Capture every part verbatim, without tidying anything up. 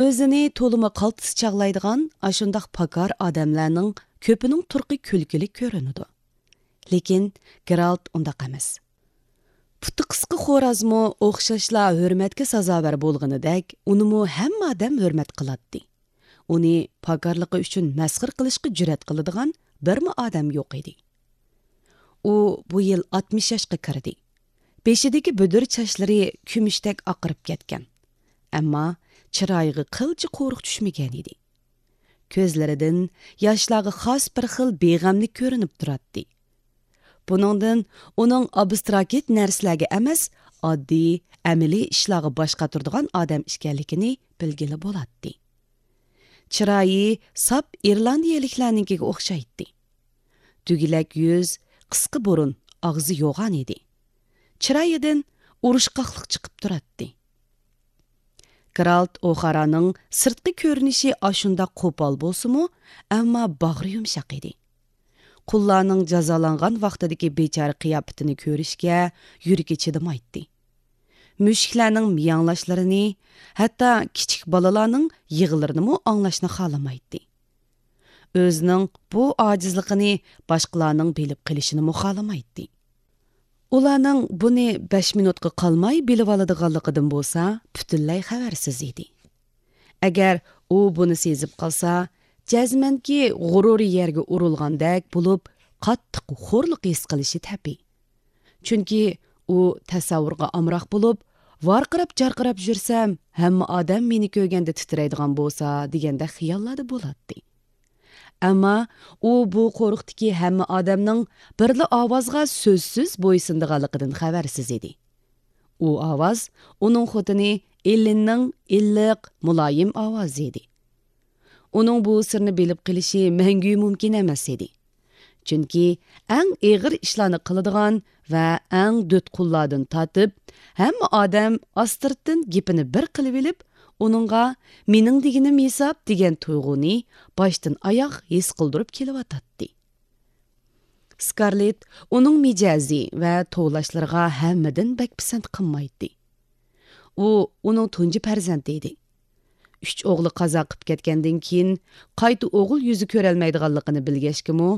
ئۆزىنى تولىمۇ قالتىس چاغلايدىغان ئاشۇنداق پاكار ئادەملەرنىڭ كۆپىنىڭ تۇرقى كۈلكىلىك كۆرۈنىدۇ. لېكىن گېرالت ئۇنداق ئەمەس. پۇتى قىسقا خورازمۇ ئوخشاشلا ھۆرمەتكە سازاۋەر بولغىنىدەك، ئۇنىمۇ ھەممە ئادەم ھۆرمەت قىلاتتى. ئۇنى پاكارلىقى ئۈچۈن مەسخىرە قىلىشقا جۈرئەت قىلىدىغان بىرمۇ ئادەم يوق ئىدى. ئۇ بۇ يىل ئاتمىش ياشقا كىردى. بېشىدىكى بۈدۈر چاچلىرى كۈمۈشتەك ئاقىرىپ كەتكەن. ئەمما چىرايىغا قىلچە قورۇق چۈشمىگەن ئىدى. كۆزلىرىدىن ياشلارغا خاس بىر خىل بىغەملىك كۆرۈنۈپ تۇراتتى. بۇنىڭدىن ئۇنىڭ ئابستراكت نەرسىلەرگە ئەمەس، ئاددىي، ئەمەلىي ئىشلارغا باش قاتۇرىدىغان ئادەم ئىكەنلىكىنى بىلگىلى بولاتتى. چىرايى ساپ ئىرلاندىيەلىكلەرنىڭكىگە ئوخشايتتى. دۈگىلەك يۈز، قىسقا بۇرۇن، ئاغزى يوغان ئىدى. چىرايىدىن ئۇرۇشقاقلىق چىقىپ تۇراتتى. گېرالت ئوخارانىڭ سىرتقى كۆرۈنۈشى ئاشۇنداق قوپال بولسىمۇ، ئەمما باغرى يۇمشاق ئىدى. قۇللارنىڭ جازالانغان ۋاقتىدىكى بىچارە قىياپىتىنى كۆرۈشكە يۈرىكى چىدىمايتتى. مۈشۈكلەرنىڭ مىياڭلاشلىرىنى، ھەتتا كىچىك بالىلارنىڭ يىغىلىرىنىمۇ ئاڭلاشنى خالىمايتتى. ئۆزىنىڭ بۇ ئاجىزلىقىنى باشقىلارنىڭ بىلىپ قېلىشىنىمۇ خالىمايتتى. ئۇلارنىڭ بۇنى بەش مىنۇتقا قالماي بىلىۋالىدىغانلىقىدىن بولسا پۈتۈنلەي خەۋەرسىز ئىدى. ئەگەر ئۇ بۇنى سېزىپ قالسا، جەزمەنكى غۇرۇرى يەرگە ئۇرۇلغاندەك بولۇپ، قاتتىق خورلۇق ھېس قىلىشى تەبىئىي. چۈنكى ئۇ تەسەۋۋۇرغا ئامراق بولۇپ، ۋارقىراپ-جارقىراپ يۈرسەم، ھەممە ئادەم مېنى كۆرگەندە تىترەيدىغان بولسا، دېگەندەك خىياللاردا بولاتتى. ئەمما ئۇ بۇ قورۇقتىكى ھەممە ئادەمنىڭ بىرلا ئاۋازغا سۆزسىز بويسۇنىدىغانلىقىدىن خەۋەرسىز ئىدى. ئۇ ئاۋاز ئۇنىڭ خوتۇنى ئېللىننىڭ ئىللىق، مۇلايىم ئاۋازى ئىدى. ئۇنىڭ بۇ سىرنى بىلىپ قېلىشى مەڭگۈ مۇمكىن ئەمەس ئىدى. چۈنكى ئەڭ ئېغىر ئىشلارنى قىلىدىغان ۋە ئەڭ دۆتقۇللاردىن تارتىپ، ھەممە ئادەم ئاستىرتتىن گېپىنى بىر قىلىۋېلىپ، ئۇنىڭغا «مېنىڭ دېگىنىم ھېساب» دېگەن تۇيغۇنى باشتىن ئاياغ ھېس قىلدۇرۇپ كېلىۋاتاتتى. سكارلېت ئۇنىڭ مىجەزى ۋە توۋلاشلىرىغا ھەممىدىن بەك پىسەنت قىلمايتتى. ئۇ ئۇنىڭ تۇنجى پەرزەنتى ئىدى. ئۈچ ئوغلى قازا قىپ كەتكەندىن كېيىن، قايتا ئوغۇل يۈزى كۆرەلمەيدىغانلىقىنى بىلگەچكىمۇ،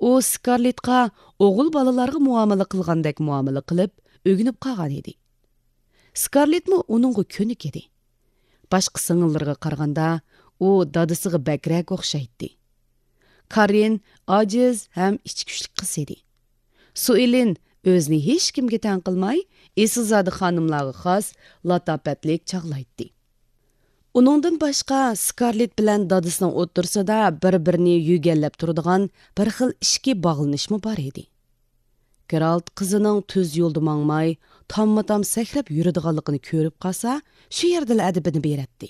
ئۇ سكارلېتقا ئوغۇل بالىلارغا مۇئامىلە قىلغاندەك مۇئامىلە قىلىپ، ئۆگىنىپ قالغان ئىدى. سكارلېتمۇ ئۇنىڭغا كۆنۈك ئىدى. باشقا سىڭىللىرىغا قارىغاندا، ئۇ دادىسىغا بەكرەك ئوخشايتتى. كاررىن ئاجىز ھەم ئىچكۈچلۈك قىز ئىدى. سۇئېلىن ئۆزىنى ھېچكىمگە تەڭ قىلماي، ئېسىلزادە خانىملارغا خاس لاتاپەتلىك چاغلايتتى. ئۇنىڭدىن باشقا، سكارلېت بىلەن دادىسىنىڭ ئوتتۇرىسىدا بىر-بىرىنى يۆگەنلەپ تۇرىدىغان بىر خىل ئىچكى باغلىنىشمۇ بار ئىدى. گېرالت قىزىنىڭ تۈز يولدا ماڭماي، تاممۇتام سەكرەپ يۈرىدىغانلىقىنى كۆرۈپ قالسا، شۇ يەردىلا ئەدىپىنى بېرەتتى.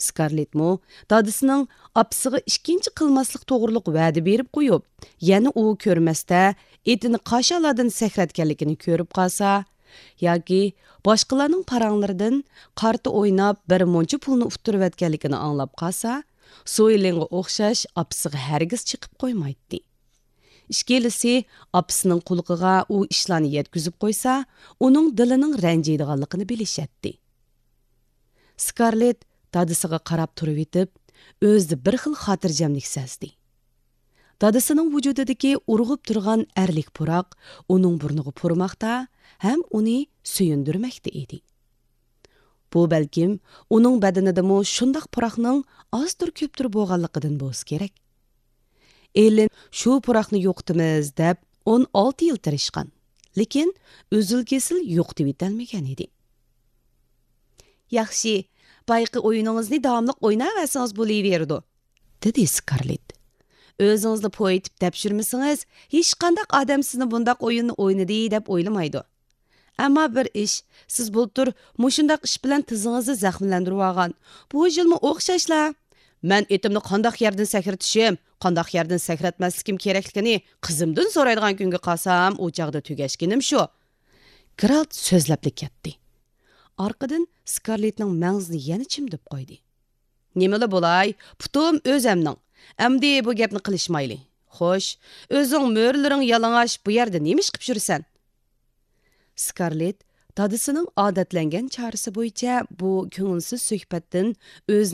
سكارلېتمۇ دادىسىنىڭ ئاپىسىغا ئىككىنچى قىلماسلىق توغرۇلۇق ۋەدە بېرىپ قويۇپ، يەنە ئۇ كۆرمەستە ئېتىنى قاشالاردىن سەكرەتكەنلىكىنى كۆرۈپ قالسا، ياكى باشقىلارنىڭ پاراڭلىرىدىن قارتا ئويناپ بىر مۇنچە پۇلنى ئۇتتۇرۇۋەتكەنلىكىنى ئاڭلاپ قالسا، سويلىنغا ئوخشاش ئاپىسىغا ھەرگىز چېقىپ قويمايتتى. ئىككىلىسى ئاپىسىنىڭ قۇلىقىغا ئۇ ئىشلارنى يەتكۈزۈپ قويسا، ئۇنىڭ دىلىنىڭ رەنجىيدىغانلىقىنى بىلىشەتتى. سكارلېت دادىسىغا قاراپ تۇرۇۋېتىپ، ئۆزىدە بىر خىل خاتىرجەملىك سەزدى. دادىسىنىڭ ۋۇجۇدىدىكى ئۇرغۇپ تۇرغان ئەرلىك پۇراق ئۇنىڭ بۇرنىغا پۇرىماقتا ھەم ئۇنى سۆيۈندۈرمەكتە ئىدى. بۇ بەلكىم ئۇنىڭ بەدىنىدىمۇ شۇنداق پۇراقنىڭ ئازدۇر كۆپتۇر بولغانلىقىدىن بولسا كېرەك. ئېللىن شۇ پۇراقنى يوقىتىمىز دەپ ئون ئالتە يىل تىرىشقان، لېكىن ئۈزۈل-كېسىل يوقىتىۋېتەلمىگەن ئىدى. ياخشى، بايىقى ئويۇنىڭىزنى داۋاملىق ئويناۋەرسىڭىز بولۇۋېرىدۇ، دېدى سكارلېت. ئۆزىڭىزلا پويىتىپ تەپشۈرمىسىڭىز، ھېچقانداق ئادەم سىزنى بۇنداق ئويۇننى ئوينىدى دەپ ئويلىمايدۇ. ئەمما بىر ئىش، سىز بۇلتۇر مۇشۇنداق ئىش بىلەن تىزىڭىزنى زەخىملەندۈرۈۋالغان. بۇ يىلمۇ ئوخشاشلا. مەن ئېتىمنى قانداق يەردىن سەكرىتىشىم، قانداق يەردىن سەكرەتمەسلىكىم كېرەكلىكىنى قىزىمدىن سورايدىغان كۈنگە قالسام، ئۇ چاغدا تۈگەشكىنىم شۇ. گېرالت سۆزلەپلا كەتتى. ئارقىدىن سكارلېتنىڭ مەڭزىنى يەنە چىمدىپ قويدى. نېمىلا بولاي، پۇتۇم ئۆزەمنىڭ. ئەمدى بۇ گەپنى قىلىشمايلى. خوش، ئۆزۈڭ مۈرىلىرىڭ يالىڭاچ بۇ يەردە نېمە ئىش قىپ يۈرىسەن؟ سكارلېت دادىسىنىڭ ئادەتلەنگەن چارىسى بويىچە بۇ كۆڭۈلسىز سۆھبەتتىن ئۆزىنىڭ